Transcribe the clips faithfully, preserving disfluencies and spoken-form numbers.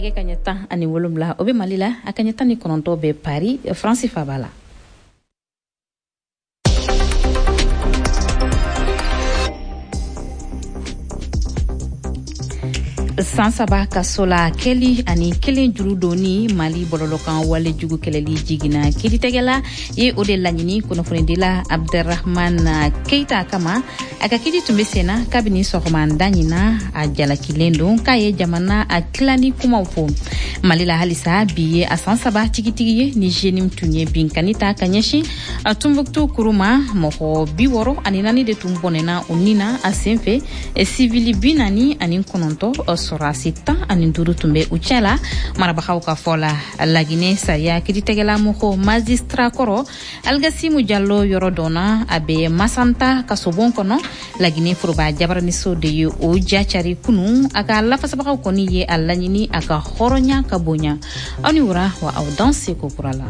Nɛgɛ kaɲɛ tan ani wolonwula, o bɛ Mali la, a kaɲɛ tan ni kɔnɔntɔn bɛ Paris, Faransi faaba la. San saba kaso la kɛli ani kelen juru donni Mali bɔlɔlɔkan wale jugu kɛlɛli jiginna kiiritigɛla ye o de laɲini kunnafonidila Abderrahman Keita kama. A ka kiiri tun bɛ senna kabini sɔgɔmada ɲin na. A jalakilen don k'a ye jamana a tilani kumaw fɔ Mali la. Halisa, bi ye a san saba tigitigi ye ni J N I M tun ye binkani ta ka ɲɛsin Tunbuktu kuru ma. Mɔgɔ bi wɔɔrɔ ani naani de tun bɔnɛna o nin na a sen fɛ, sivili bi naani ani kɔnɔntɔn, sɔrɔdasi tan ani duuru tun bɛ u cɛ la, marabagaw ka fɔ la. Laginɛ sariya kiiritigɛla mɔgɔ magistrat kɔrɔ Aligasimu Jalo yɔrɔ dɔnna, a bɛ Masanta kasobon kɔnɔ. Laginɛ foroba jabaraniso de ye o ja cari kunu. A ka lafasabagaw kɔni ye a laɲini a ka hɔrɔnya ka bonya. Aw ni wura wa, aw dan seko kura la.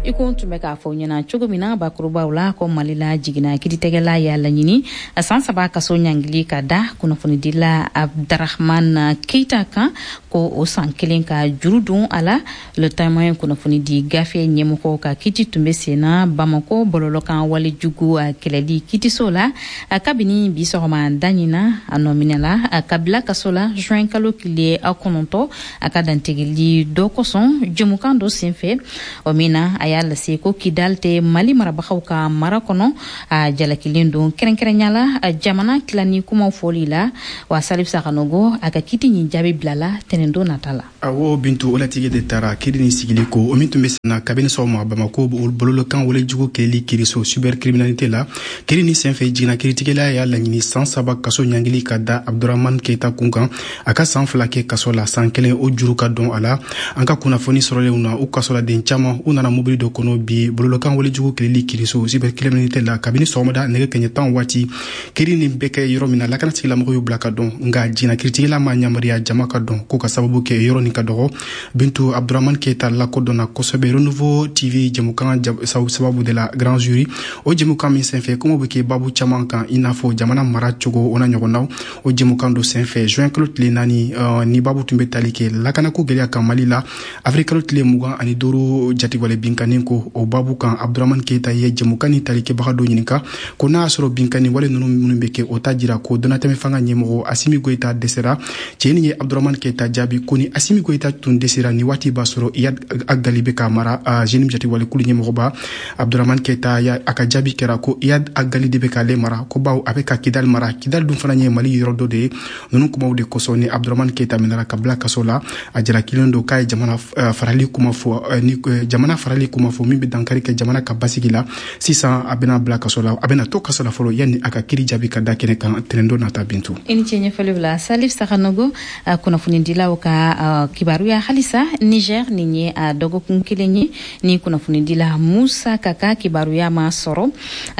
I ko n tun bɛ k'a fɔ ɲɛna cogo min na bakurubaw la, ko Mali la, jiginna kiiritigɛla y'a laɲini san saba kaso ɲangili ka da kunnafonidila Abdarahman Keita kan, ko o san kelen ka juru don a la. Le Témoin kunnafonidi gafe ɲɛmɔgɔ ka kiti tun bɛ senna Bamako bɔlɔlɔkan walejugu kɛlɛli kitiso la kabini bi sɔgɔma da ɲin. A nɔminɛla ka bila kaso la juin kalo tile kɔnɔntɔ, a ka dantigɛli dɔ kosɔn jɛmukan dɔ senfɛ, o min na a y'a lase ko Kidal tɛ Mali marabagaw ka mara kɔnɔ. A jalakilen don kɛrɛnkɛrɛnya la jamana tilani kumaw fɔli la. Wa Salif Sakanogo, a ka kiti ɲin jaabi bilala tɛnɛndon nata la. Awɔ Bintu, o latigɛ de taara kiri ni sigili ko o min tun bɛ senna kabini sɔgɔma Bamako bololokan walejugu kɛlɛli kiriso cybercriminalité la. Kiri ni senfɛ, jiginna kiritigɛla y'a laɲini san saba kaso ɲangili ka da Abdurahman Keita kun kan, a ka san fila kɛ kaso la, san kelen o juru ka dɔn a la. An ka kunnafoni sɔrɔlenw na, u kasoladen caman u nana mobili dɔ kɔnɔ bi bololokan walejugu kɛlɛli kiriso cybercriminalité la kabini sɔgɔmada nɛgɛ kɛɲɛ tan waati. Kiri nin bɛ kɛ yɔrɔ min na, lakana tigilamɔgɔw y'u bila ka dɔn, nka jiginna kiritigɛla ma yamaruya jama ka dɔn ko ka sababu kɛ yɔrɔ nin ka dɔgɔ. Bintu, Abdurahman Keita lakodɔnna kosɛbɛ Renouveau T V jɛmukan sababu de la, Grand Jury. O jɛmukan min senfɛ, kumaw bɛ kɛ babu caman kan, i n'a fɔ jamana mara cogo, o n'a ɲɔgɔnnaw. O jɛmukan dɔ senfɛ juin kalo tile naani, ni babu tun bɛ tali kɛ lakanako gɛlɛya kan Mali la, avril kalo tile mugan ani duuru jatigɛwale binkanni ko, o babu kan, Abdurahman Keita ye jɛmukan ni talikɛbaga dɔ ɲininka ko n'a y'a sɔrɔ binkanni wale ninnu minnu bɛ kɛ, o t'a jira ko dɔnnatɛmɛ fanga ɲɛmɔgɔ Asimi Goyita dɛsɛra. Cɛ nin ye Abdurahman Keita jaabi ko ni Asimi Goyita tun dɛsɛra ni waati b'a sɔrɔ Iyad Ag Ghali bɛ ka mara, J N I M jatigɛwale kulu ɲɛmɔgɔba. Abdurahman Keita a ka jaabi kɛra ko Iyad Ag Ghali de bɛ k'ale mara, ko baw a bɛ ka Kidal mara, Kidal dun fana ye Mali yɔrɔ dɔ de ye. Ninnu kumaw de kosɔn ni Abdurahman Keita minɛra ka bila kaso la. A jalakilen don k'a ye jamana farali kuma fɔ, ni jamana farali kuma fɔ min bɛ dankari kɛ jamana ka basigi la. Sisan a bɛna bila kaso la, a bɛna to kaso la fɔlɔ yanni a ka kiri jaabi ka da kɛnɛ kan tɛnɛndon nata. Bintu. I ni ce ɲɛfɔliw la, Salif Sakanogo. Kunnafonidilaw ka kibaruya halisa, Niger, nin ye a dɔgɔkun kelen ye ni kunnafonidila Musa Kaka kibaruya ma sɔrɔ.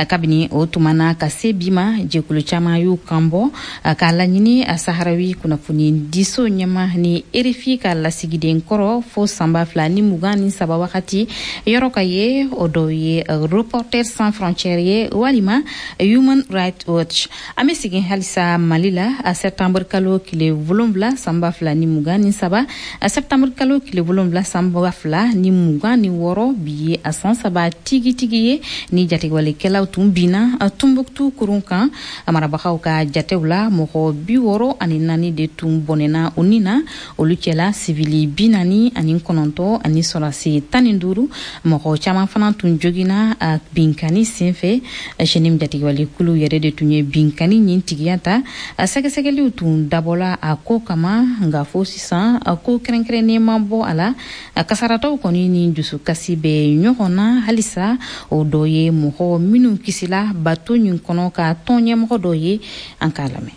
Kabini o tuma na ka se bi ma, jɛkulu caman y'u kan bɔ k'a laɲini a Saharawi kunnafonidiso ɲɛma ni R F I ka lasigiden kɔrɔ fo sanba fila ni mugan ni saba wagati yɔrɔ ka ye. O dɔw ye Reporters sans frontières ye walima Human Rights Watch. An bɛ segin halisa Mali la. A septembre kalo tile wolonwula sanba fila ni mugan ni saba, a septembre kalo tile wolonwula sanba fila ni mugan ni wɔɔrɔ, bi ye a san saba tigitigi ye ni jatigɛwalekɛlaw tun binna Tunbuktu kurun kan. A marabagaw ka jatew la, mɔgɔ bi wɔɔrɔ ani naani de tun bɔnɛna o nin na, olu cɛla sivili bi naani ani kɔnɔntɔ ani sɔrɔdasi tan ni duuru. Mɔgɔ caman fana tun joginna a binkani senfɛ. J N I M jatigɛwalekulu yɛrɛ de tun ye binkani ɲin tigiya ta. A sɛgɛsɛgɛliw tun dabɔla a ko kama, nka fo sisan a ko kɛrɛnkɛrɛnnen ma bɔ a la. A kasaratɔw kɔni ni dusukasi bɛ ɲɔgɔn na halisa. O dɔ ye mɔgɔ minnu kisila bato ɲin kɔnɔ ka tɔn ɲɛmɔgɔ dɔ ye, an k'a lamɛn.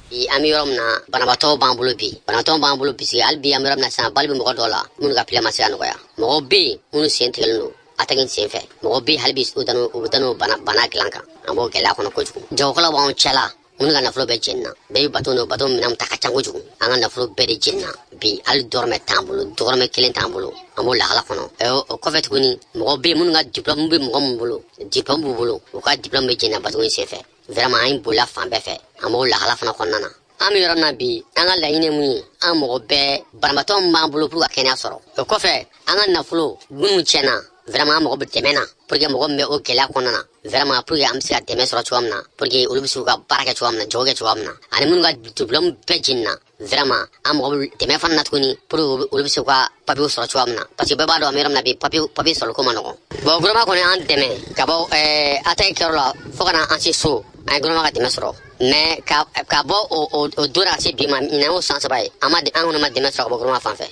Bi an bɛ yɔrɔ min na, banabaatɔw b'an bolo bi, banabaatɔw b'an bolo bi. Hali bi an bɛ yɔrɔ min na sisan, bali bɛ mɔgɔ dɔw la minnu ka plaie ma se ka nɔgɔya. Mɔgɔw bɛ yen minnu sen tigɛlen don attaque sen fɛ. Mɔgɔw bɛ yen hali bi u u bɛ taa n'o bana bana dilan kan. An b'o gɛlɛya kɔnɔ kojugu. Jagokɛlaw b'anw cɛla minnu ka nafolo bɛɛ jenina. Bɛɛ bɛ bato n'o bato minɛnw ta ka ca kojugu. An ka nafolo bɛɛ de jenina bi, hali dɔrɔmɛ t'an bolo, dɔrɔmɛ kelen t'an bolo. An b'o lahala kɔnɔ. O kɔfɛ tuguni, mɔgɔw bɛ yen minnu ka diplôme bɛ mɔgɔ min bolo, diplôme b'u bolo, u ka diplôme bɛ jenina bato in senfɛ. Vraiment, an ye bolila fan bɛɛ fɛ. An b'o lahala fana kɔnɔna na. An bɛ yɔrɔ min na bi, an ka laɲini ye mun ye? An mɔgɔ bɛɛ banabaatɔ min b'an bolo pour ka kɛnɛya sɔrɔ. O kɔfɛ, an ka nafolo minnu tiɲɛna, vraiment an mago bɛ dɛmɛ na pour que mɔgɔ min bɛ o gɛlɛya kɔnɔna na, vraiment pour que an bɛ se ka dɛmɛ sɔrɔ cogoya min na, pour que olu bɛ se k'u ka baara kɛ cogoya min na, jago kɛ cogoya min na, ani minnu ka diplôme bɛɛ jiginna, vraiment an mago bɛ dɛmɛ fana na tuguni pour que olu bɛ se k'u ka papiyew sɔrɔ cogoya min na, parce que bɛɛ b'a dɔn an bɛ yɔrɔ min na bi, papiye papiye sɔrɔli ko ma nɔgɔn. Bon, gouvernement kɔni y'an dɛmɛ ka bɔ ɛɛ attaque kɛyɔrɔ la fo ka na an se so, an ye gouvernement ka dɛmɛ sɔrɔ, mais ka ka bɔ o o o don na ka se bi ma, ɲinan y'o san saba ye, an ma an kɔni ma dɛmɛ sɔrɔ ka bɔ gouvernement fan fɛ.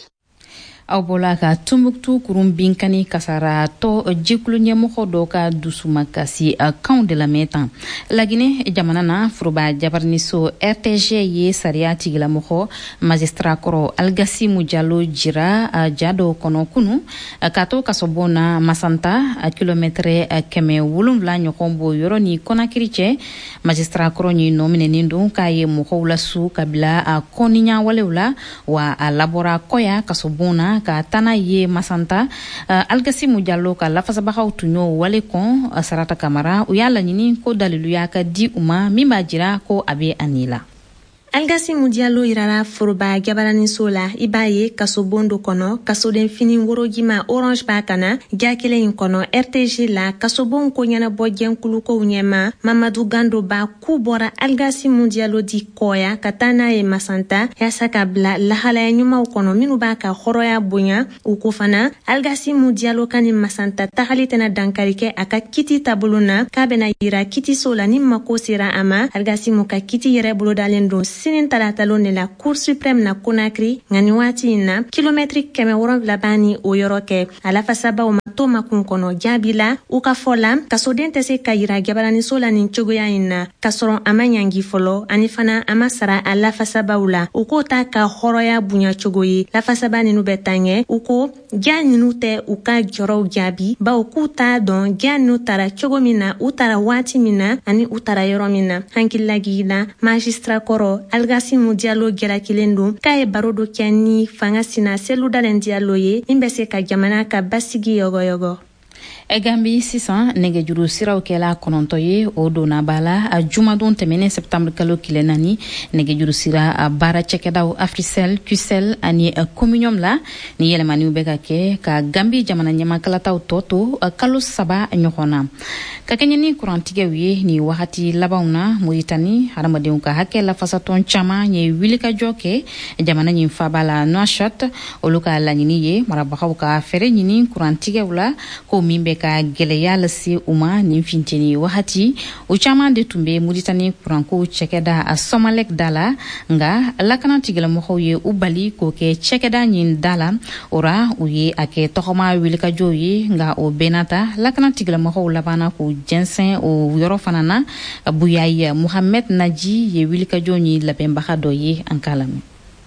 Aw bɔla ka Tumbuktu kurun binkani kasaratɔ jɛkulu ɲɛmɔgɔ dɔ ka dusumakasi kanw de lamɛn tan. Laginɛ jamana na, foroba jabaraniso R T G ye sariya tigilamɔgɔ magistrat kɔrɔ Algasimu Jalo jira ja dɔw kɔnɔ kunu k'a to kasobon na Masanta, kilomɛtɛrɛ kɛmɛ wolonwula ɲɔgɔn b'o yɔrɔ ni Kɔnakiri cɛ. Magistrat kɔrɔ ɲi nɔ minɛnen don k'a ye mɔgɔw lasu ka bila a kɔniɲawalew la, wa a labɔra kɔya kasobon na ka taa n'a ye Masanta. Algasimu Jalo ka lafasabagaw tun y'o wale kɔn. Sarata Kamara, u y'a laɲini ko daliluya ka di u ma min b'a jira ko a bɛ a ni la. Algasimu Diallo yirala foroba jabaraniso la, i b'a ye kasobon do kɔnɔ, kasoden fini worojima orange b'a kana. Ja kelen in kɔnɔ, R T G la kasobon ko ɲɛnabɔ jɛnkulukow ɲɛma Mamadu Gando b'a k'u bɔra Algasimu Diallo di kɔya ka taa n'a ye Masanta yaasa ka bila lahalaya ɲumanw kɔnɔ minw b'a ka hɔrɔnya bonya. U ko fana Algasimu Diallo ka ni Masanta tagali tɛna dankari kɛ a ka kiti taabolo na, k'a bɛna yira kitiso la ni mako sera a ma. Algasimu ka kiti yɛrɛ bolodalen don sini talatalon de la Cour suprême na Konakri. Nka ni waati in na, kilomɛtiri kɛmɛ wɔrɔnfila b'a ni o yɔrɔ kɛ. A lafasabaw ma to makun kɔnɔ jaabi la. U ka fɔ la, kasoden tɛ se ka yira jabaraniso la nin cogoya in na k'a sɔrɔ a ma ɲangi fɔlɔ, ani fana a ma sara a lafasabaw la. U k'o ta ka hɔrɔnya bonya cogo ye. Lafasaba ninu bɛ taa ɲɛ, u ko ja ninu tɛ u ka jɔrɔw jaabi, bawo k'u t'a dɔn ja ninu tara cogo min na, u tara waati min na ani u tara yɔrɔ min na. Hankililagigi la, magistrat kɔrɔ Algasimu Diallo jalakilen don k'a ye baro dɔ kɛ ni fanga sina Selu Dalen Diallo ye min bɛ se ka jamana ka basigi yɔgɔyɔgɔ. Gambi sisan, nɛgɛjuru siraw kɛla kɔnɔntɔ ye, o donna ba la a jumadon tɛmɛnen, septembre kalo tile naani, nɛgɛjuru sira baara cɛkɛdaw Africell, Qcell ani Comminium la. Ni yɛlɛmaniw bɛ ka kɛ ka Gambi jamana ɲɛmakalataw tɔ to kalo saba ɲɔgɔn na. Ka kɛɲɛ ni kurantigɛw ye ni wagati labanw na Moritani, hadamadenw ka hakɛ lafasatɔn caman ye wulikajɔ kɛ jamana ɲin faba la Nouakchott. Olu ka laɲini ye marabagaw ka fɛɛrɛ ɲini kurantigɛw la, ko min bɛ ka gwɛlɛya lase u ma nin finteni wagati. O caman de tun bɛ Muritani kuranko cɛkɛda a Somalek da la, nga lakana tigilamɔgɔw ye u bali k'o kɛ cɛkɛda ɲin da la. O ra, u ye a kɛ tɔgɔma wulikajɔw ye, nga o bɛɛ n'a ta, lakana tigilamɔgɔw labanna k'u jɛnsɛn o yɔrɔ fana na. Buyayi Muhamɛd Naji ye wulikajɔ ɲi labɛnbaga dɔ ye, an k'a lamɛn.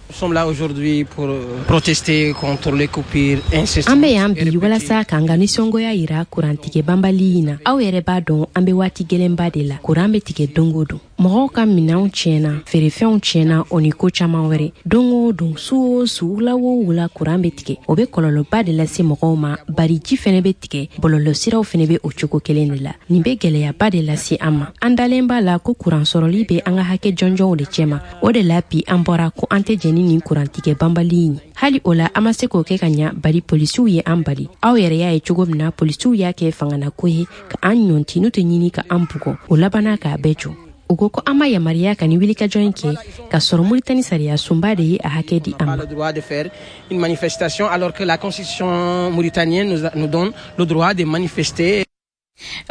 Nous sommes là aujourd'hui pour protester contre les coupures incessantes. An bɛ yan bi walasa k'an ka nisɔngoya yira kurantigɛ banbali in na. Aw yɛrɛ b'a dɔn, an bɛ waati gɛlɛnba de la. Kuran bɛ tigɛ don o don. Mɔgɔw ka minɛnw tiɲɛna, feerefɛnw tiɲɛna, o ni ko caman wɛrɛ. Don o don, su o su, wula o wula, kuran bɛ tigɛ. O bɛ kɔlɔlɔba de lase mɔgɔw ma, bari ji fɛnɛ bɛ tigɛ, bɔlɔlɔsiraw fɛnɛ bɛ o cogo kelen de la. Nin bɛ gɛlɛyaba de lase an ma. An dalen b'a la ko kuran sɔrɔli bɛ an ka hakɛ jɔnjɔnw de cɛma. O de la bi an bɔra ko an tɛ jɛn ni nin kurantigɛ banbali in ye. Hali o la, an ma se k'o kɛ ka ɲa, bari polisiw ye an bali. Aw yɛrɛ y'a ye cogo min na, polisiw y'a kɛ fanganako ye ka an ɲɔnti n'u tɛ ɲini ka an bugɔ. O labanna k'a bɛɛ jɔ. U ko ko an ma yamaruya ka ni wulikajɔ in kɛ, ka sɔrɔ Muritani sariya sunba de ye a hakɛ di an ma. Le droit de faire une manifestation alors que la constitution mauritanienne nous, nous donne le droit de manifester.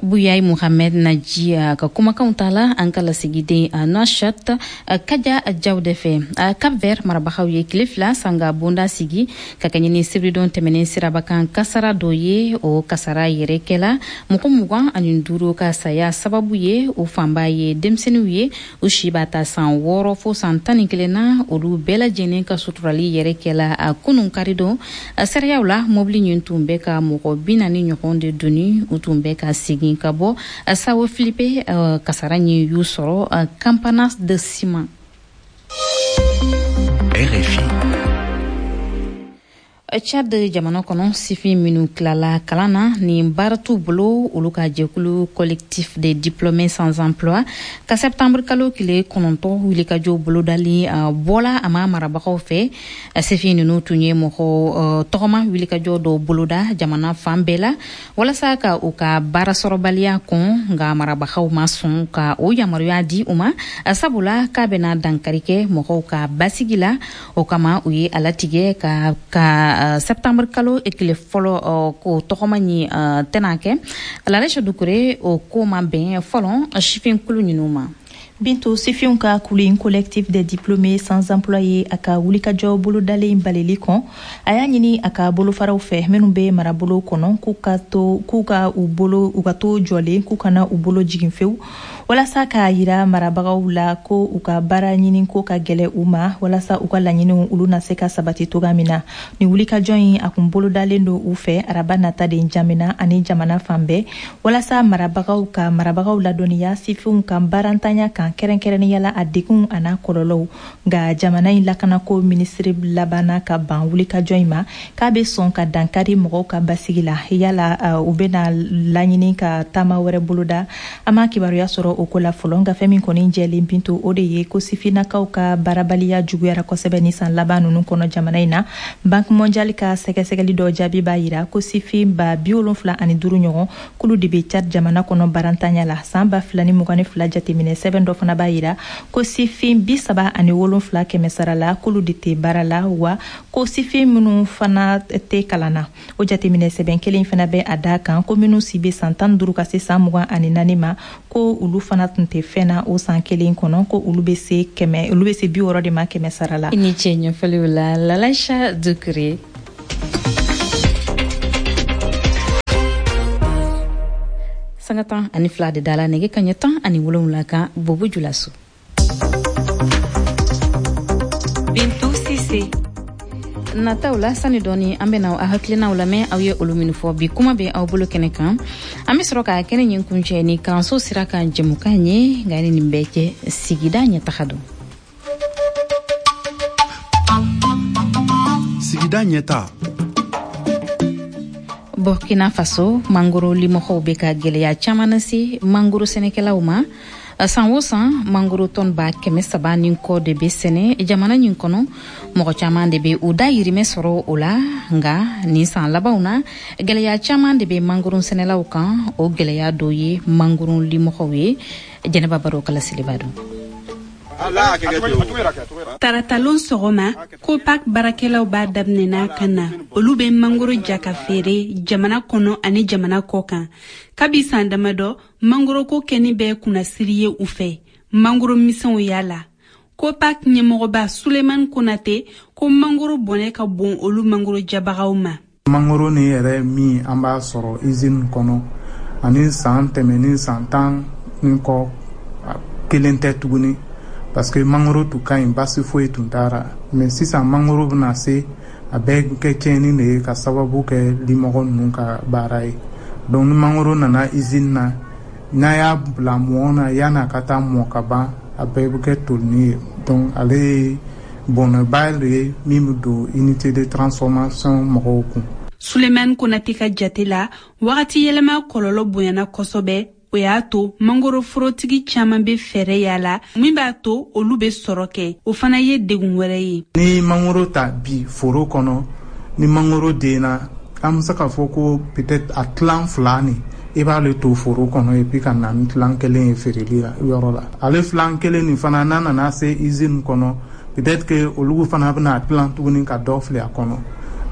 Buyayi Muhamɛd Naji ka kumakanw ta la an ka lasigiden Nouakchott Kaja Jawde fɛ. Cap Vert marabagaw ye tile fila sanga bonda sigi ka kɛɲɛ ni sibiridon tɛmɛnen sirabakan kasara dɔ ye. O kasara yɛrɛ kɛla mɔgɔ mugan ani duuru ka saya sababu ye, o fanba ye denmisɛnninw ye, u si b'a ta san wɔɔrɔ fo san tan ni kelen na. Olu bɛɛ lajɛlen ka suturali yɛrɛ kɛla a kunun karidon. Sariyaw la, mobili ɲin tun bɛ ka mɔgɔ bi naani ɲɔgɔn de doni, u tun bɛ ka segin ka bɔ Sawo Filipe. Kasara ɲin y'u sɔrɔ Campanas de Cima. R F I. Tchad jamana kɔnɔ, sifin minnu tilala kalan na ni baara t'u bolo, olu ka jɛkulu Collectif des diplômés sans emploi ka septembre kalo tile kɔnɔntɔn wulikajɔ bolodali bɔla a ma marabagaw fɛ. Sifin ninnu tun ye mɔgɔ tɔgɔma wulikajɔ dɔw boloda jamana fan bɛɛ la walasa ka u ka baara sɔrɔbaliya kɔn, nka marabagaw ma sɔn ka o yamaruya di u ma, sabula k'a bɛna dankari kɛ mɔgɔw ka basigi la. O kama, u ye a latigɛ ka ka septembre kalo tile fɔlɔ ko tɔgɔma ɲi tɛna kɛ. Lalɛsɛ Dukure, o ko ma bɛn fɔlɔ sifinkulu ninnu ma. Bintu, sifinw ka kulu Collectif des diplômés sans emploi ye a ka wulikajɔ bolodalen balili kɔn. A y'a ɲini a ka bolofaraw fɛ minnu bɛ marabolo kɔnɔ k'u ka to k'u ka u bolo u ka to jɔlen, k'u kana u bolo jigin fewu, walasa k'a yira marabagaw la ko u ka baara ɲini ko ka gɛlɛ u ma, walasa u ka laɲiniw olu na se ka sabati toga min na. Nin wulikajɔ in, a kun bolodalen don u fɛ araba nata de Jamina ani jamana fan bɛɛ, walasa marabagaw ka marabagaw ladɔnniya sifinw ka baarantanya kan, kɛrɛnkɛrɛnnenya la a degunw a n'a kɔlɔlɔw. Nka jamana in lakanako minisiri labanna ka ban wulikajɔ in ma, k'a bɛ sɔn ka dankari mɔgɔw ka basigi la. Yala u bɛna laɲini ka taama wɛrɛ boloda, an m'a kibaruya sɔrɔ o ko la fɔlɔ. Nka fɛn min kɔni jɛlen, Bintu, o de ye ko sifinnakaw ka baarabaliya juguyara kosɛbɛ ni san laban ninnu kɔnɔ jamana in na. Banque mondiale ka sɛgɛsɛgɛli dɔ jaabi b'a yira ko sifin ba bi wolonfila ani duuru ɲɔgɔn kulu de bɛ Tchad jamana kɔnɔ barantanya la. San ba fila ni mugan ni fila jateminɛ sɛbɛn dɔ fana b'a yira ko sifin bi saba ani wolonfila kɛmɛ sara la k'olu de tɛ baara la, wa ko sifin minnu fana tɛ kalan na. O jateminɛ sɛbɛn kelen fana bɛ a da kan ko minnu si bɛ san tan duuru ka se san mugan ani naani ma, ko olu fana tun tɛ fɛn na o san kelen kɔnɔ, ko olu bɛ se kɛmɛ olu bɛ se bi wɔɔrɔ de ma kɛmɛ sara la. I ni ce ɲɛfɔliw la, Lalaisa Dukure. Sanga tan ani fila de dala nɛgɛ kaɲɛ tan ani wolonwula kan Bobo Julaso. Bintu Sise. Nataw la, sani dɔɔni an bena aw hakilinaw lamɛn, aw ye olu minnu fɔ bi kuma bɛ aw bolo kɛnɛ kan. An be sɔrɔ ka kɛnɛ ɲin kuncɛ ni kalanso sira kan jɛmukan ye. Nka ni nin bɛɛ cɛ, sigida ɲɛtaga don. Sigida ɲɛta. Burkina Faso, mangoro limɔgɔw bɛ ka gwɛlɛya caman lase mangoro sɛnɛkɛlaw ma. San o san, mangoro tɔn ba kɛmɛ saba ni kɔ de bɛ sɛnɛ jamana ɲin kɔnɔ. Mɔgɔ caman de bɛ u dayirimɛ sɔrɔ o la. Nka nin san labanw na, gwɛlɛya caman de bɛ mangoro sɛnɛlaw kan. O gwɛlɛya dɔ ye mangoro limɔgɔw ye. Jɛnɛba Baro kala seliba don. Taratalon sɔgɔma, Copac baarakɛlaw b'a daminɛna ka na. Olu bɛ mangoro ja ka feere jamana kɔnɔ ani jamana kɔ kan. Kabi san damadɔ, mangoroko kɛni bɛ kunnasiri ye u fɛ. Mangoro misɛnw y'a la. Copac ɲɛmɔgɔba Sulemani Konate ko mangoro bɔnɛ ka bon olu mangoro jabagaw ma. Mangoro ni yɛrɛ min an b'a sɔrɔ usine kɔnɔ ani san tɛmɛni san tan ni kɔ kelen tɛ tuguni, parce que mangoro tun ka ɲi, basi foyi tun t'a ra. Mais sisan mangoro bɛna se a bɛɛ kɛ tiɲɛni de ye ka sababu kɛ limɔgɔ ninnu ka baara ye. Donc ni mangoro nana usine na, n'a y'a bila mɔɔ na, yan'a ka taa mɔ ka ban, a bɛɛ bɛ kɛ tolini ye. Donc ale ye bɔnɛba de ye min bɛ don unité de transformation mɔgɔw kun. Sulemani Konate ka jate la, wagati yɛlɛma kɔlɔlɔ bonyana kosɛbɛ. O y'a to mangoroforotigi caman bɛ fɛɛrɛ yala min b'a to olu bɛ sɔrɔ kɛ. O fana ye degun wɛrɛ ye. Ni mangoro ta bi foro kɔnɔ, ni mangoro denna, an bɛ se k'a fɔ ko peut-être a tilan fila nin i b'ale to foro kɔnɔ et puis ka na ni tilan kelen ye feereli la yɔrɔ la. Ale filan kelen nin fana, n'a nana se usine kɔnɔ, peut-être que olu fana bɛna tilan tuguni ka dɔ fili a kɔnɔ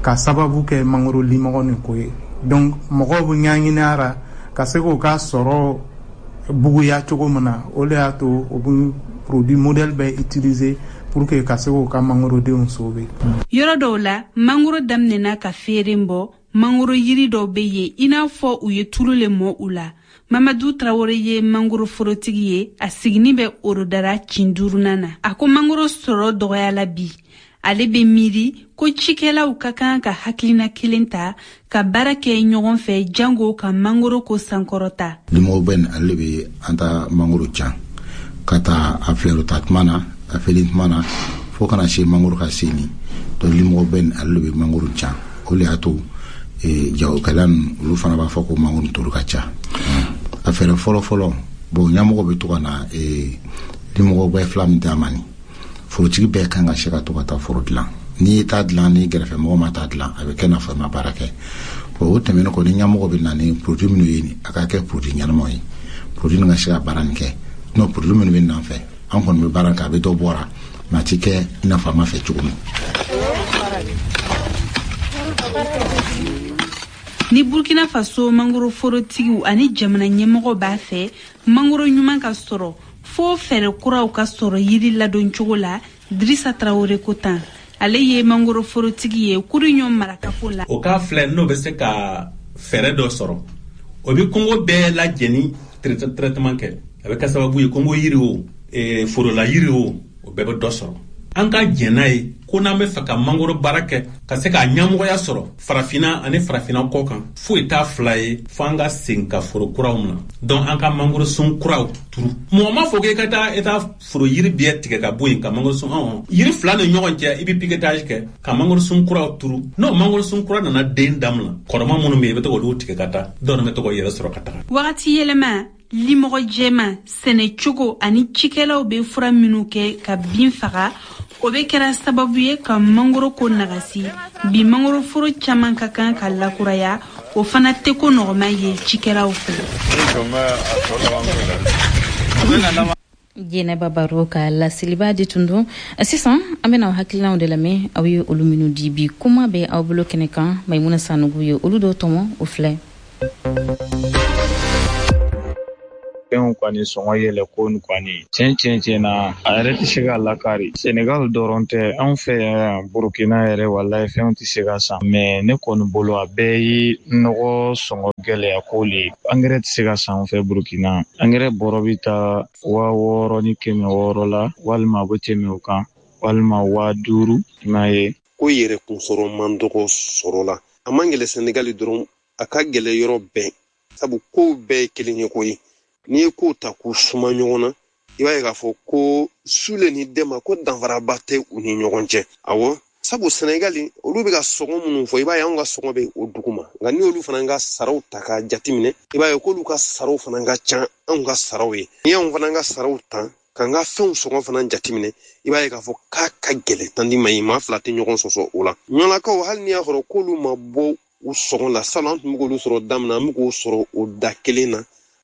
ka sababu kɛ mangoro limɔgɔ nin ko ye. Donc mɔgɔw bɛ ɲɛɲini a la ka se k'o ka sɔrɔ buguya cogo min na. O de y'a to o bɛ produit modèle bɛɛ utiliser pour que ka se k'o ka mangorodenw sauver. Yɔrɔ dɔw la, mangoro daminɛna ka feere bɔ. Mangoro yiri dɔw bɛ yen i n'a fɔ u ye tulu le mɔ u la. Mamadu Tarawele ye mangoro forotigi ye, a sigini bɛ Orodara kin duurunan na. A ko mangoro sɔrɔ dɔgɔyala bi. Ale bɛ miiri ko cikɛlaw ka kan ka hakilina kelen ta ka baara kɛ ɲɔgɔn fɛ jango ka mangoro ko sankɔrɔta. Limɔgɔw bɛ ale bɛ an ta mangoro can ka taa a filɛru ta tuma na, a feere tuma na, fo kana se mangoro ka se nin. Donc limɔgɔw bɛ ale bɛ mangoro can. O le y'a to jagokɛla ninnu olu fana b'a fɔ ko mangoro turu ka ca. A fɛɛrɛ fɔlɔ fɔlɔ, bon, ɲɛmɔgɔ bɛ to ka na ni mɔgɔ bɛɛ fila min d'a ma, nin forotigi bɛɛ kan ka se ka to ka taa foro dilan. N'i ye taa dilan, ni gɛrɛfɛ mɔgɔ ma taa dilan, a bɛ kɛ n'a fɔ i ma baara kɛ. Bon, o tɛmɛnen kɔ, ni ɲɛmɔgɔ bɛ na ni produit minnu ye nin, a ka kɛ produit ɲɛnamaw ye, produit nin ka se ka baara nin kɛ. Sinon produit minnu bɛ na an fɛ, an kɔni bɛ baara kɛ, a bɛ dɔ bɔra, mais a ti kɛ i n'a fɔ an b'a fɛ cogo min. Ni Burkina Faso mangoroforotigiw ani jamana ɲɛmɔgɔ b'a fɛ mangoro ɲuman ka sɔrɔ, fo fɛɛrɛ kuraw ka sɔrɔ yiri ladoncogo la. Drissa Traoré ko tan, ale ye mangoroforotigi ye Kuriɲɔ marakafo la. O k'a filɛ, n'o bɛ se ka fɛɛrɛ dɔ sɔrɔ, o bɛ kungo bɛɛ lajɛni traitement kɛ. A bɛ kɛ sababu ye kungo yiri o, forola yiri o, o bɛɛ bɛ dɔ sɔrɔ. An ka jɛn n'a ye ko n'an bɛ fɛ ka mangoro baara kɛ ka se k'a ɲɛmɔgɔya sɔrɔ farafinna ani farafinna kɔ kan, foyi t'a fila ye fo an ka segin ka foro kuraw minɛ. Donc an ka mangorosun kuraw turu. Mɔgɔ m'a fɔ k'e ka taa e taa foro yiri bɛɛ tigɛ ka bɔ yen ka mangorosun ɔn yiri fila ni ɲɔgɔn cɛ, i bɛ piquetage kɛ ka mangorosun kuraw turu. N'o mangorosun kura nana den daminɛ, kɔrɔma minnu bɛ yen, i bɛ to k'olu tigɛ ka taa, dɔw bɛ to k'o yɛrɛ sɔrɔ ka taga. Wagati yɛlɛma, limɔgɔ jɛman, sɛnɛcogo ani cikɛlaw bɛ fura minnu kɛ ka bin faga, o bɛ kɛra sababu ye ka mangoro ko nagasi. Bi mangoroforo caman ka kan ka lakuraya, o fana tɛ ko nɔgɔma ye cikɛlaw fɛ. Jɛnɛba Baro ka laseliba de tun don. Sisan an bɛna aw hakilinaw de lamɛn, aw ye olu minnu di bi. Kuma bɛ aw bolo kɛnɛ kan, Maimuna Sanogo ye olu dɔw tɔmɔ, o filɛ. Fɛnw kɔni sɔngɔ yɛlɛ ko nin kɔni tiɲɛ tiɲɛ tiɲɛ na, a yɛrɛ tɛ se ka lakari. Senegal dɔrɔn tɛ, anw fɛ yan Burukina yɛrɛ, walayi fɛnw tɛ se ka san. Mais ne kɔni bolo, a bɛɛ ye nɔgɔ sɔngɔ gɛlɛya ko le ye. Angɛrɛ tɛ se ka san anw fɛ Burukina. Angɛrɛ bɔrɔ bɛ taa waa wɔɔrɔ ni kɛmɛ wɔɔrɔ la, walima a bɛ tɛmɛ o kan, walima waa duuru. I m'a ye. Ko yɛrɛ kunsɔrɔ man dɔgɔ sɔrɔ la. A man gɛlɛ Senegali dɔrɔn, a ka gɛlɛ yɔrɔ bɛɛ. Sabu kow bɛɛ ye kelen ye koyi. N'i ye kow ta k'u suma ɲɔgɔn na, i b'a ye k'a fɔ ko Sule ni Dɛma ko danfaraba tɛ u ni ɲɔgɔn cɛ. Awɔ, sabu Senegali olu bɛ ka sɔngɔ minnu fɔ, i b'a ye anw ka sɔngɔ bɛ o duguma. Nka n'i y'olu fana ka saraw ta k'a jateminɛ, i b'a ye k'olu ka saraw fana ka ca anw ka saraw ye. N'i y'anw fana ka saraw ta k'an ka fɛnw sɔngɔ fana jateminɛ, i b'a ye k'a fɔ k'a ka gɛlɛn tandi ma ye, maa fila tɛ ɲɔgɔn sɔsɔ o la. Ɲɔlakaw, hali n'i y'a sɔrɔ k'olu ma bɔ u sɔngɔ la, salon an tun bɛ k'olu sɔrɔ daminɛ, an bɛ k'o sɔrɔ o da kelen na.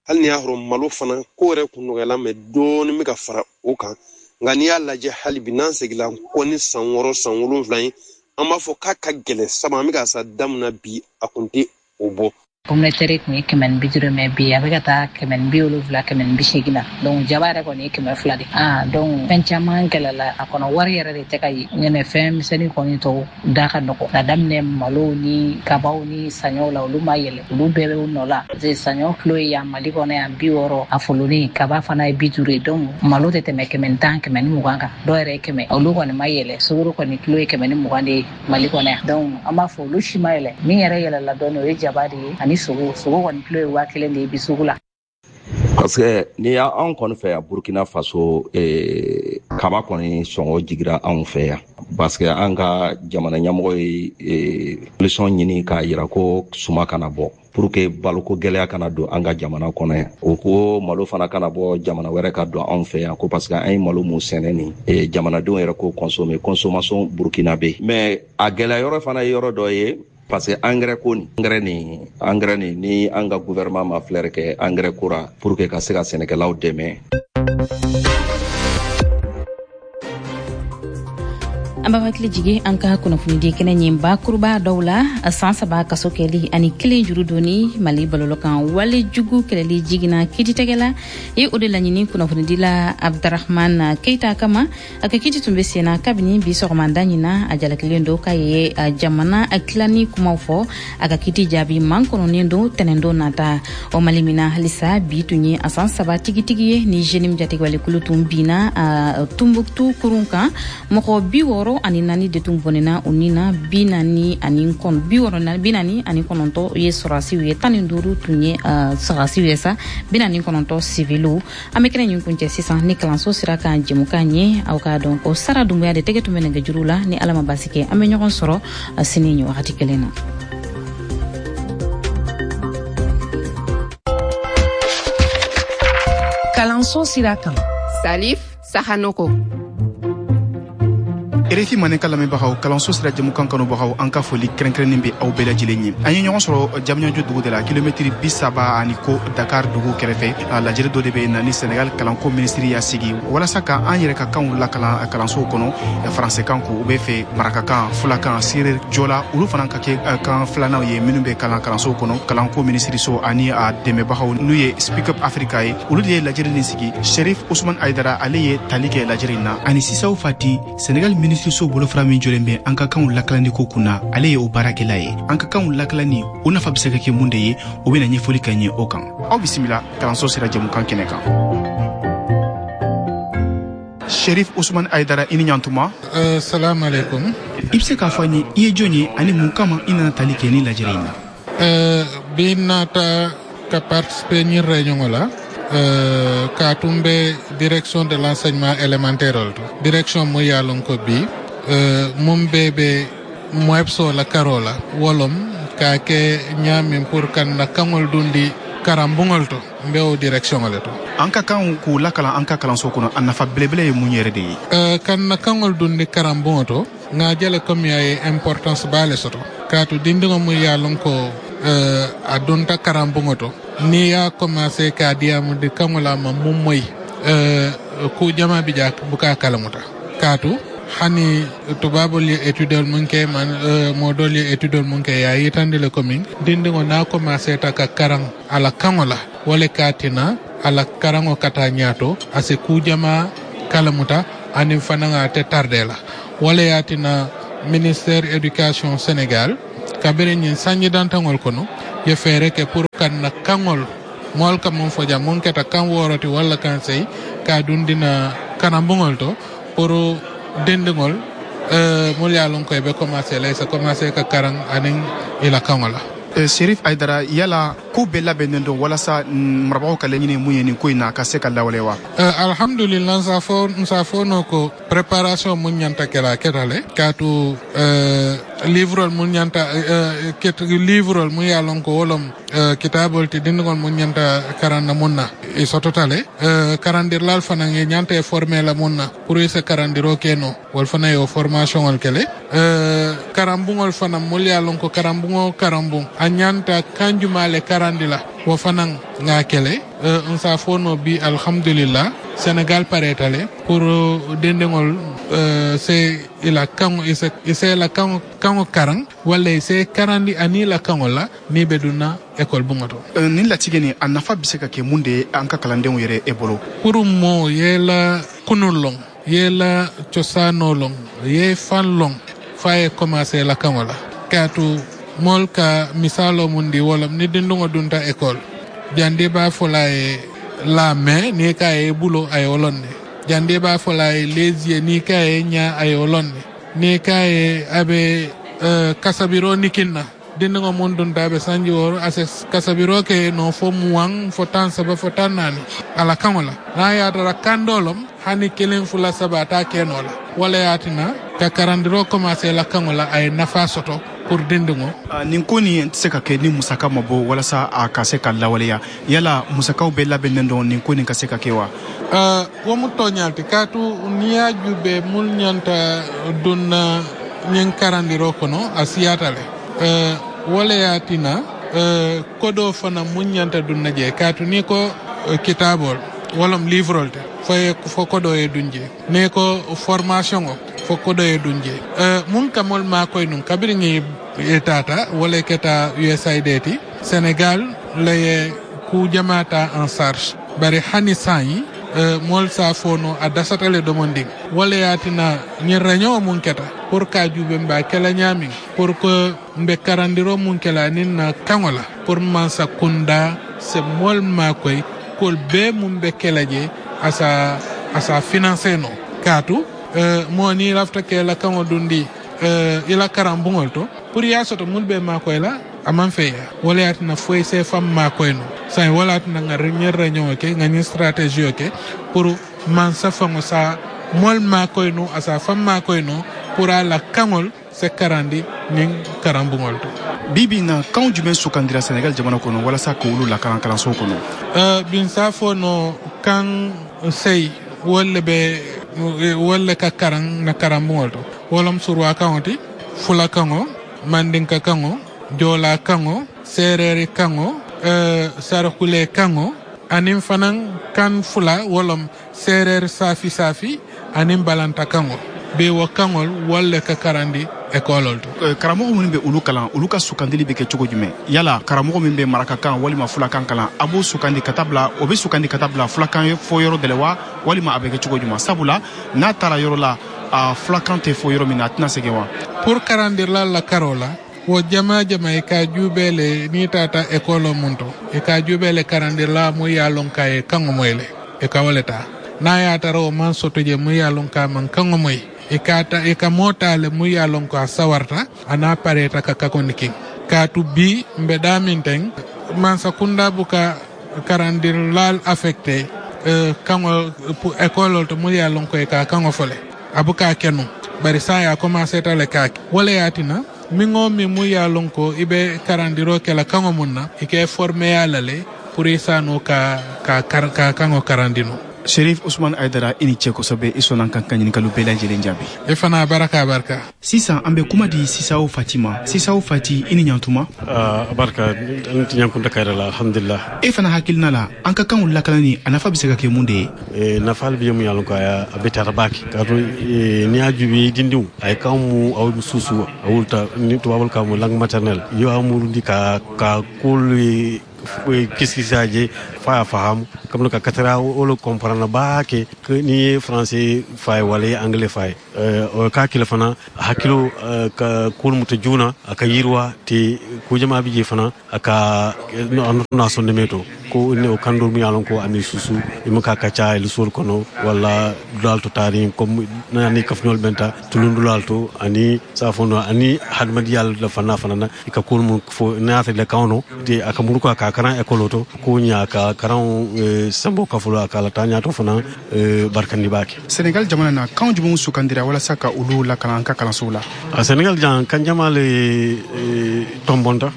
Hali n'i y'a sɔrɔ malo fana ko yɛrɛ kun nɔgɔyala, mɛ dɔɔnin bɛ ka fara o kan. Nka n'i y'a lajɛ hali bi, n'an seginna kɔ ni san wɔɔrɔ san wolonwula ye, an b'a fɔ k'a ka gɛlɛn, sabu an bɛ ka sa daminɛ bi, a kun tɛ o bɔ. Pomme de terre kun ye kɛmɛ ni bi duuru, mɛ bi a bɛ ka taa kɛmɛ ni bi wolonwula, kɛmɛ ni bi seegin na. Donc jaba yɛrɛ kɔni ye kɛmɛ fila de. Ah, donc fɛn caman gɛlɛla a kɔnɔ, wari yɛrɛ de tɛ ka ye. Ɲɛnɛ fɛn misɛnnin kɔni tɔw da ka nɔgɔ. Ka daminɛ malo ni kabaw ni saɲɔw la, olu ma yɛlɛ, olu bɛɛ bɛ u nɔ la. Parce que saɲɔ kilo ye yan Mali kɔnɔ yan bi wɔɔrɔ, a folonin kaba fana ye bi duuru ye. Donc malo tɛ tɛmɛ kɛmɛ ni tan, kɛmɛ ni mugan kan, dɔw yɛrɛ ye kɛmɛ. Olu kɔni ma yɛlɛ. Sukaro kɔni kilo ye kɛmɛ ni mugan de ye Mali kɔnɔ yan. Donc an b'a fɔ olu si ma yɛlɛ. Min yɛrɛ yɛlɛla dɔɔnin, o ye jaba de ye ani sogo. Sogo kɔni kilo ye waa kelen de ye bi sugu la. Parce que n'i y'anw kɔni fɛ yan Burkina Faso, eh, kaba kɔni sɔngɔ jigira anw fɛ yan. Parce que an ka jamana ɲɛmɔgɔ ye eh, solution ɲini k'a yira ko suma kana bɔ, pour que baloko gɛlɛya kana don an ka jamana kɔnɔ yan. O ko malo fana kana bɔ jamana wɛrɛ ka don anw fɛ yan, ko parce que an ye malo mun sɛnɛ nin, eh, jamanadenw yɛrɛ ko consommer, consommation burkinabé. Mais a gɛlɛya yɔrɔ fana ye yɔrɔ dɔ ye, parce que engrais ko nin, engrais nin engrais nin ni an ka gouvernement ma filɛri kɛ engrais ko ra pour que ka se ka sɛnɛkɛlaw dɛmɛ. An b'a hakili jigi an ka kunnafonidi kɛnɛ ɲin bakuruba dɔw la. San saba kaso kɛli ani kelen juru donni Mali balɔlɔ kan wale jugu kɛlɛli jiginna kiiritigɛ la ye, o de laɲini kunnafonidila Abdrahman Keita kama. A ka kiiti tun bɛ senna kabini bi sɔgɔmada ɲina. A jalakilen don k'a ye jamana tilani kumaw fɔ. A ka kiiti jaabi man kɔnɔnen don tɛnɛndon nata. O Mali min na halisa bi tun ye a san saba tigitigi ye ni JNIM jatigɛwalekulu tun binna Tumbuktu kurun kan, mɔgɔ bi wɔɔrɔ wɔɔrɔ ani naani de tun bɔnɛna u ni na, bi naani ani kɔn bi wɔɔrɔ bi naani ani kɔnɔntɔn ye sɔrɔdasiw ye, tan ni duuru tun ye sɔrɔdasiw ye sa, bi naani kɔnɔntɔn siviliw. An bɛ kɛnɛ nin kuncɛ sisan ni kalanso sira kan jɛmukan ye. Aw k'a dɔn ko Sara Dunbuya de tɛgɛ tun bɛ nɛgɛjuru la. Ni Ala ma basi kɛ, an bɛ ɲɔgɔn sɔrɔ sini nin wagati kelen na. Kalanso sira kan, Salif Sahanoko. R F I Mandenkan lamɛnbagaw, kalanso sira jɛmukan kanubagaw, an ka foli kɛrɛnkɛrɛnnen bɛ aw bɛɛ lajɛlen ye. An ye ɲɔgɔn sɔrɔ Diamniadio dugu de la, kilomɛtiri bi saba ani ko Dakar dugu kɛrɛfɛ. Lajɛrɛ dɔ de bɛ na ni Senegal kalanko minisiri y'a sigi walasa ka an yɛrɛ ka kanw lakalan kalansow kɔnɔ. Faransɛkan ko u bɛ fɛ, marakakan, fulakan, seere jɔla, olu fana ka kɛ kan filananw ye minnu bɛ kalan kalansow kɔnɔ. Kalanko minisiriso ani a dɛmɛbagaw n'u ye Speak Up Africa ye, olu de ye lajɛrɛ nin sigi. Sherif Usman Aydara, ale ye tali kɛ lajɛrɛ in na, ani Sisaw Fati, Senegal minisiri so bolofara min jɔlen bɛ an ka kanw lakalanni ko kunna, ale ye o baarakɛla ye. An ka kanw lakalanni o nafa bɛ se ka kɛ mun de ye, o bɛna ɲɛfɔli kɛ ɲɛ o kan. Aw bisimila kalanso sira jɛmukan kɛnɛ kan. Sherif Usman Aydara, i ni ɲantuma. Uh, salam alaikum. I bɛ se k'a fɔ an ye i ye jɔn ye ani mun kama i nana tali kɛ ni lajɛrɛ in na? Uh, bi nata ka participer ni réunion la. Uh, ka tun bɛ direction de l'enseignement élémentaire to, direction mu ye lon ko bi uh, mun bɛɛ bɛ MOEPSO la karo la wolom ka kɛ ɲaamin pour kan na kaŋol dundi karanbuŋol to, n bɛ o direction le to. An ka kan k'u lakalan an ka kalanso kɔnɔ, a nafa belebele ye mun yɛrɛ de ye? Uh, kan na kaŋol dundi karanbuŋo to, ŋa jele comme a ye importance baa le soto, kaatu dindiŋo mu ye lon ko uh, a dunta karanbuŋo to, ni y'a commencé k'a diyamundi kaŋo la ma mun moyi uh, ku jama bi ja buka kalamuta, kaatu hani tubabol ye étude mun ke man uh, modol ye étude mun ke ya yitandi le commune dindiŋo n'a commencé ta ka karan ala kaŋo la, wala katina ala karango kata ñaato ase ku jama kalamuta anin fanaŋa te tarde la. Wala yatina ministère éducation Sénégal kabiri ñin sanji dantaŋol kono ye feere ke pour kan na kaŋol mool ka mun foja mun keta kan woroti walla kan sey ka dundina karambuŋol to pour dindiŋol euh, mul ye lon koy be commencé lay sa commencé ka karan anin ila kaŋo la. Sherif Aydara, yala ko bɛɛ labɛnnen don walasa marabagaw ka laɲini mun ye nin ko in na ka se ka lawale wa? Uh, alhamdulillah, nsa fo nsa fo no ko préparation mun ñanta kela ketale kaatu uh, livrol mun ñanta uh, ket livrol mun ye lon ko wolom uh, kitabol ti dindigol mun ñanta karanna mun na i sototale uh, karandirlal fana ye ñanta e formé la mun na pour se karandiro keno wol fana yo formation ol kele uh, karambungol fana mul ye lon ko karambungo karambung a ñanta kanjumale karandila wo fanan nga kele uh, nsa fono bi alhamdulillah Sénégal paretale pour dendengol uh, se ila kango ise ise la kango kango karang wala ise karandi ani la kango la ni beduna école bungato. Uh, nin latigɛ nin a nafa bɛ se ka kɛ mun de ye an ka kalandenw yɛrɛ e bolo? Pour mo ye la kunun long ye la cosano long ye fan long fa ye commencer la kango la katu mol ka misalo mundi wala ni dindungo dunta école jande ba fola e la main ni ka e bulo ay olonne jande ba fola e les yeux ni ka e nya ay olonne ni ka e abe uh, kasabiro nikinna dindungo mun dunta be sanji woro ase kasabiro ke no fo muang fo tan saba fo tan nani ala kangola na ya dara kandolom hani kelen fula saba ta kenola wala yatina ka karandiro commencer la kangola ay nafa soto pour dindingo. Uh, nin ko nin tɛ se ka kɛ ni musaka ma bɔ walasa a ka se ka lawaleya. Yala musakaw bɛɛ labɛnnen don nin ko nin ka se ka kɛ wa? Uh, wo mu tooñalti kaatu ni ye jube mul ñanta dunna ñiŋ karandiro kono a siyata le. Uh, wo le ye tina uh, kodoo fana mun ñanta dunna je kaatu ni ko uh, kitaabol wolom livrol te fo ye fo kodoo ye dun je ni ko formation o fo kodo ye dun je. Uh, mun kamol makoy nun kabiri ŋi tata wala keta U S A I D ti Sénégal la ye ku jamata en charge bari hani sanyi uh, mol sa fono a dasatale domonding wala yatina ñi réunion mun keta pour ka jube mba kela ñamin pour que mbe karandiro mun kela nin na kangola pour mansa kunda se mol makoy kol be mun be kela je asa asa financer no katu uh, mo ni lafta ke la kaŋo dundi uh, ila karambuŋol to pour ya soto mun be makoy la aman feya wala yatina foy se fam makoy no say wala tina nga ñer réunion ke nga ni stratégie ke pour man sa fango sa mol makoy no asa fam makoy no pour ala kaŋol se karandi nin karambuŋol to. Bibi na kan jumɛn sugandira Senegal jamana kɔnɔ walasa k'olu lakalan kalanso kɔnɔ? Uh, bin safo no kan sey wolle be wolle ka karan na karambuŋol to wolom surwa kaŋo ti fula kaŋo mandinka kaŋo jola kaŋo sereri kaŋo uh, sarakule kaŋo anin fanan kan fula wolom serer safi safi anin balanta kaŋo be wo kaŋol wolle ka karandi école to. Karamɔgɔ minnu bɛ olu kalan olu ka sugandili bɛ kɛ cogo jumɛn? Yala karamɔgɔ min bɛ marakakan walima fulakan kalan a b'o sugandi ka taa bila o bɛ sugandi ka taa bila fulakan fɔ yɔrɔ dɔ la wa walima a bɛ kɛ cogo jumɛn? Sabula n'a taara yɔrɔ la a fulakan tɛ fɔ yɔrɔ min na a tɛna segin wa? Pour karandirla la karo la wo jama jama i ka juubee le n'i taata école mun to i ka juubee le karandirla mu ye a lɔn k'a ye kaŋo moyi le i ka wo le taa n'a ye a tara o maŋ soto je mu ye a lɔn k'a maŋ kaŋo moyi i ka ta i ka moo taa le mu ye a lɔn ko a sawarta a n'a pareeta ka kakoni kiŋ kaatu bi mbe daamin teŋ mansakunda buka karandirlal affecté euh, kaŋo école to mu ye a lɔn ko i ka kaŋo fo le a buka ke nu bari saa ye a commencé ta le ka ke wo le ye a tina miŋo miŋ mu ye a lɔn ko i be karandiro ke la kaŋo mun na i ke formeya la le pour i saano ka ka ka kaŋo karandino. Chérif Ousmane Aidara i ni ce kosɛbɛ i sɔnna kan ka ɲininkaliw bɛɛ lajɛlen jaabi. I fana baraka barika. Sisan an bɛ kuma di Sisawo Fati ma. Sisawo Fati i ni ɲantuma. Uh, barika n ti ɲankunta kayira la alhamdulillah. E fana hakilina la an ka kanw lakanani a nafa bɛ se ka kɛ mun de ye? E, nafa bɛ mun y'a lɔn ko a bɛ taara baake kaatu e, n'i y'a jubi dindiw a ye kan mu aw susu a wulta ni tubabul ka mu langue maternelle yo a murundi ka ka kolu kiskisaje fa faham comme ka katara wolo comprendre ba ke ni ye français fay wala anglais fay o ka kila fana hakilo ka kul muta juna aka yirwa te ko jama bi je fana aka na sonne meto ko ne o kandol mi yalon ko ani susu imu ka kaca el sol kono wala dal to tari comme nani kafnol benta tulundulal to ani safono ani hadmadi yal la fana fana ka kul mu fo naata le kawno te aka muruka ka karan école to ko nya ka karan sambo kafulo akala tanya to fana barkandi bake. Senegal jamana na kan jumɛn sugandira walasa ka olu lakalan an ka kalansow la? A Senegal jan kan jama le tombonta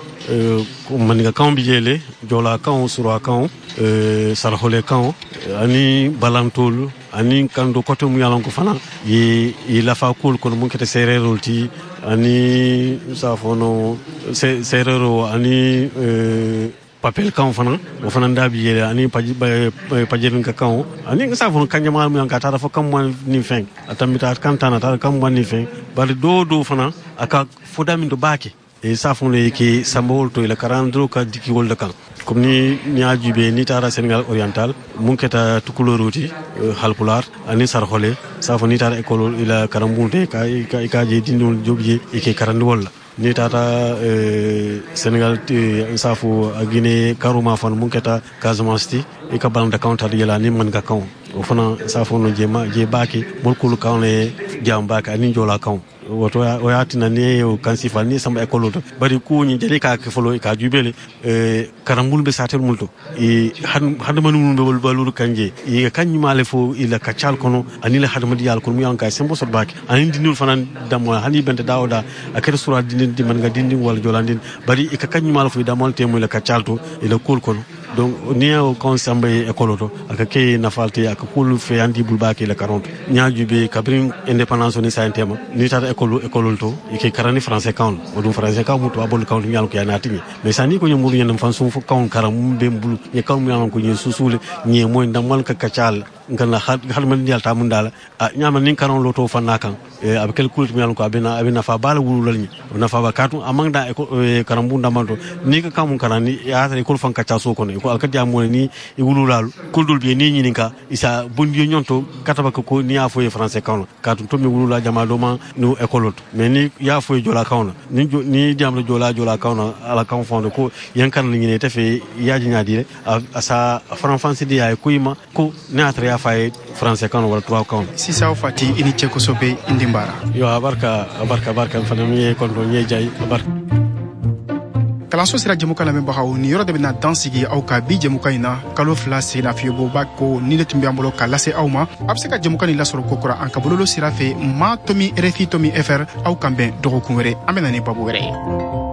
maninka kan bi jele jola kan sura kan sarhole kan ani balantol ani kando koto mu yalan ko fana ye ye lafa kul kono mun kete sererol ti ani safono serero ani papel kan fana o fana ndabi yele ani pajerin ka kan ani sa fon kan jama mu ka tara fo kam mo ni fen atamita kan tana tara kam mo ni fen bari do do fana aka foda min do baake e sa fon le ke sambol to ila karandro ka diki wolda kan comme ni ni ajube ni tara Sénégal oriental mun keta tukuloroti halpular ani sarhole sa fon ni tara école ila karambunte ka ka je dindol jobje e ke karandi wolla ni tata Sénégal safo Guinée Karuma fan mun keta Casamance ti e ka balanda counter yela ni man ka kan o fana safo no je ma je baake molkulu kan le jam baake ani jola kan woto o yatina ni o kan sifa ni samba école to bari ku ni jeli ka ke folo ka jubele e karambul be satel multo e hadama nunu be baluru kanje e kanyuma le fo ila kacal kono ani le hadama diyal kono mu yan kay sembo sot baake ani dinul fanan damo hani bente dawda akere sura dinin di man nga dindi wala jolandin bari e ka kanyuma le fo damol te mu ila kacal to ila kol kono donc ni o kon samba école to aka ke nafalte aka kul fe andi bul baake la quarante nyaaju be kabrin indépendance ni sa tema ni tata école école to ke karani français kan o dum français kan mutu abol kan nyal ko yana tinye mais sani ko nyamuru nyam fan sum fo kan karam be mbulu nye kan nyal ko nye susule nye moy ndamal ka kacal ngana hal man nyal ta mun dala a nyama nin karon loto fanna kan abe kel kulit nyal ko abena abena fa bala wululal ni na fa ba katu amang da karambu ndamanto ni ka kamun karani ya ta école fan kaca so kono ko alkadi amone ni e wululal kuldul be ni nyini ka isa bondiyo nyonto kataba ko ni afo e français kan katu to mi wulula jama do ma no école to mais ni ya fo jola kan ni ni diamlo jola jola kan ala kan fond ko yankan ni ne tefe yaaji nyaadi asa franfansi di ay kuima ko ne atra ya fɔ a ye français kan wala tubabu kan. Sisan Fati, i ni ce kosɛbɛ, i den baara. Yo, a barika, a barika, a barika. N fana min ye kɔntɔn n ye diya ye, a barika. Kalanso sira jɛmukan lamɛnbagaw, nin yɔrɔ de bɛna dan sigi aw ka bi jɛmukan in na. Kalo fila sen lafiɲɛbɔba ko ni ne tun bɛ an bolo ka lase aw ma. A bɛ se ka jɛmukan nin lasɔrɔ kokura an ka bololo sira fɛ, ma tomi R F I tomi F R. Aw kan bɛn dɔgɔkun wɛrɛ, an bɛ na ni babu wɛrɛ ye.